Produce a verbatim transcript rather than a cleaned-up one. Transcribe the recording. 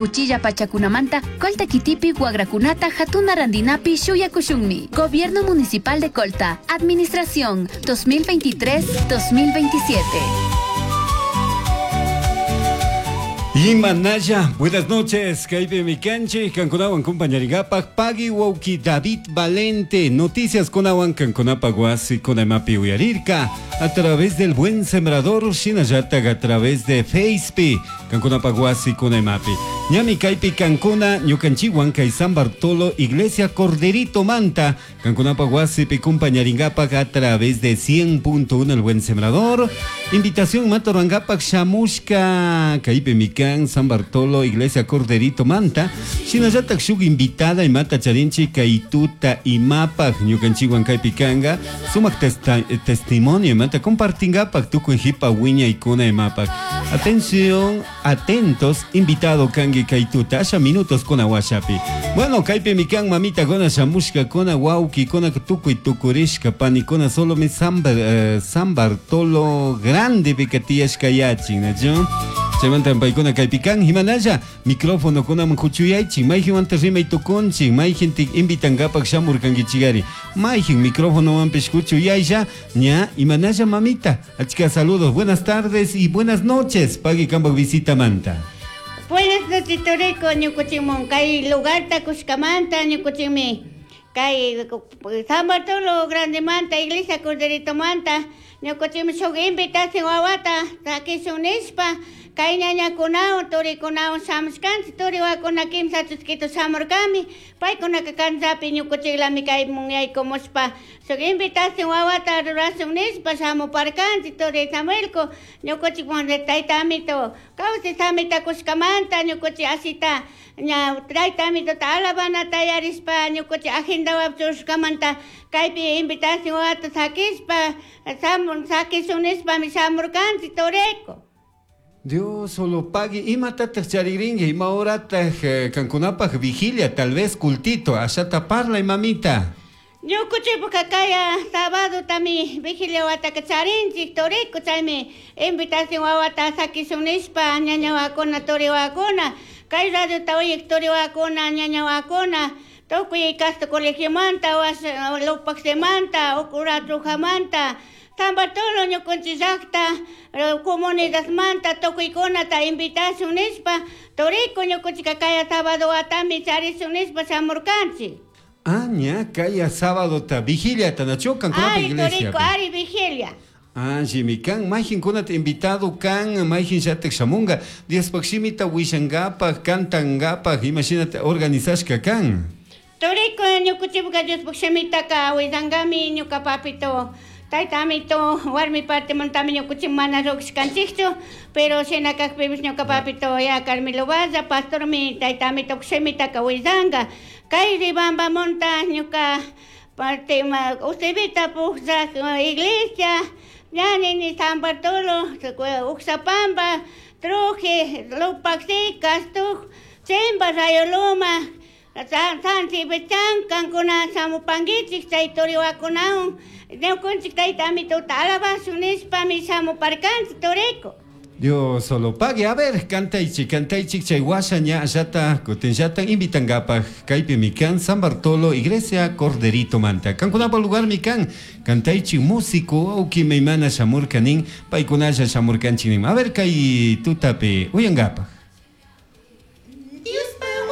Uchilla pachakunamanta Colta kitipi wakrakunata hatuna rantinapi shuyakushunmi. Gobierno Municipal de Colta. Administración dos mil veintitrés dos mil veintisiete. Imanaya, buenas noches, kaypi mikanchik, kankunawan compañeringapak, Pagui Wauki David Valente, noticias kunawan kankunapa wasi kunamapi uyarirka, a través del Buen Sembrador, shinallatag a través de Facebook, kankunapa wasi kunamapi. Ñami kaypi kankuna, ñukanchiwan kay San Bartolo, Iglesia Corderito Manta, kankunapa wasipi compañeringapak a través de cien punto uno El Buen Sembrador, invitación matorangapak shamushka, kaypi mikan San Bartolo, Iglesia Corderito Manta, shinallatak shuk invitada imata charinchi kaytuta imapak ñukanchiwan kaypi kanga, sumak testa, testimonio imata compartingapak tukuy hipa wiña ikuna imapak. Atención, atentos, invitado kangi kaytuta, asha minutos kuna washapi. Bueno, kaypi mikan mamita gona shamushka kona wauki kona tukuy tukurishka panikuna solo mi San, eh, San Bartolo Grande pikatiyashka yachin, ¿no? Chaymanta paykuna kaypikan himanalla micrófono kunaman kuchuyaychik mayjinmanta rimay tukunchik mayjintik invitankapak shamurkankichikari mayjin micrófonowanpish kuchuyaylla ña imanalla mamita achka saludos buenas tardes y buenas noches pagui kampak visita manta. Buenas noches Toreko ñukuchikmun kay lugarta kushkamanta ñukuchikmi kay San Bartolo Grande manta Iglesia Corderito manta ñukuchikmi shuk invitación wawata takishun nishpa kay ñañakunawan turikunawan shamushkanchik turiwakuna kimsa chuskitu shamurkami paykunaka kanchapi ñukuchiklami kaymun yaykumushpa shuk invitación wawata rurashun nishpa shamuparkanchik turi Samuelko ñukuchikwan tayta amito kawsay samita kushkamanta ñukuchik asita ña tayta amitota alabanata yarishpa ñukuchik agendawan churashkamanta kaypi invitación wawata sakishpa sakishun nishpami shamurkanchik turiko. Dios solo pague. Imatataq charirinki, ima horataq eh, kankunapaq vigilia, tal vez cultito, ashata parla mamita. Ñukuchikpa kaya sábado tami vigilia wataka charinchik toriko chaymi invitación wawata sakishun nishpa ñañawakuna turiwakuna kay radiota uyik turiwakuna ñañawakuna tukuy Castro colegiomanta Lupacsemanta Ucuratrujamanta San Bartolo ñukunchik llaqta comunidadmanta tukuykunata invitación nishpa toriko ñukunchik kaya sábado watami charishun nishpa shamurkanchik. Ah, ña kaya sábado ta vigilia tanacho kankunapa iglesia. Toriko ari vigilia. Ah, kan mayjinkunata invitado kan mayjin llatak shamunga Diospaq shimita wishankapak kantankapak imashinata organizashka kan. Toriko ñukuchikpa Diospaq shimitaka willankami ñuka papito tayta amito warmi partimantami ñukuchik mana ruqshkanchikchu pero shina kaqpipish ñuka papito ya Carmelo Valle pastormi tayta amito shimitaka willanka kay Ribambamunta ñuka parte Usevita pukllaq iglesia ñanini San Bartolo Uxapamba Truje Lupaxi Castuj Chimba Rayoluma San Sibichan kankuna shamupankichik chay turiwakunawan ñukunchik tayta amitota alabashun nishpami shamuparkanchik toriko. Dios solo pague. A ver, cantaichik, cantaichik, chay washa ña allata, kutinllata invitankapak kaypi mikan San Bartolo, Iglesia Corderito Manta. Kankunapa lugar mikan, cantaichik músico, auki maymana shamurkanin, paykunalla shamurkanchik nin. A ver, kay tutapi, uyankapak.